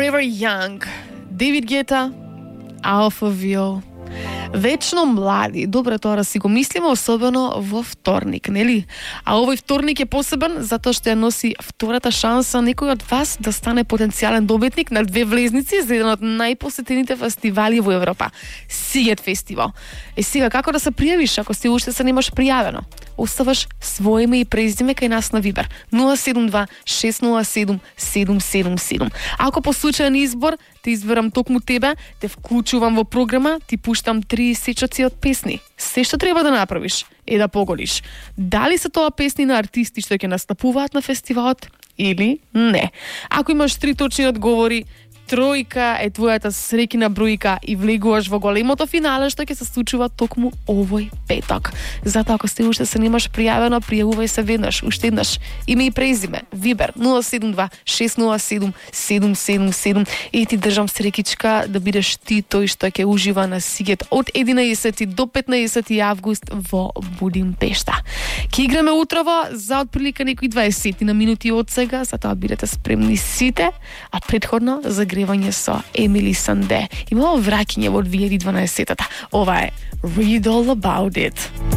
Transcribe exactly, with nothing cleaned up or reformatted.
Forever Young, David Guetta, Alphaville. Вечно млади. Добро тоа да си го мислиме, особено во вторник, нели? А овој вторник е посебен затоа што ја носи втората шанса некој од вас да стане потенцијален добитник на две влезници за еден од најпосетените фестивали во Европа, Сигет фестивал. Е сега како да се пријавиш ако си уште се немаш пријавено? Оставаш своје име и презиме кај нас на Вибер нула седум два шест нула седум седум седум седум. Ако по случаен избор те изберам токму тебе, те вклучувам во програма, ти пуштам три сечоци од песни. Се што треба да направиш е да погодиш дали се тоа песни на артисти што ќе настапуваат на фестивалот или не. Ако имаш три точни одговори, тројка е твојата среќна бројка и влегуваш во големото финале што ќе се случува токму овој петок. Затоа ако сте уште се немаш пријавено, пријавувај се веднаш, уште еднаш. Име и презиме, Вибер нула седум два шест нула седум седум седум седум и ти држам среќичка да бидеш ти тој што ќе ужива на Сигет од единаесети до петнаесети август во Будимпешта. Ќе играме утрово за отприлика некои дваесет на минути од сега, затоа бидете спремни сите, а претходно за гревање со Емили Санде. Имало враќање во две илјади и дванаесетта. Ова е Read All About It.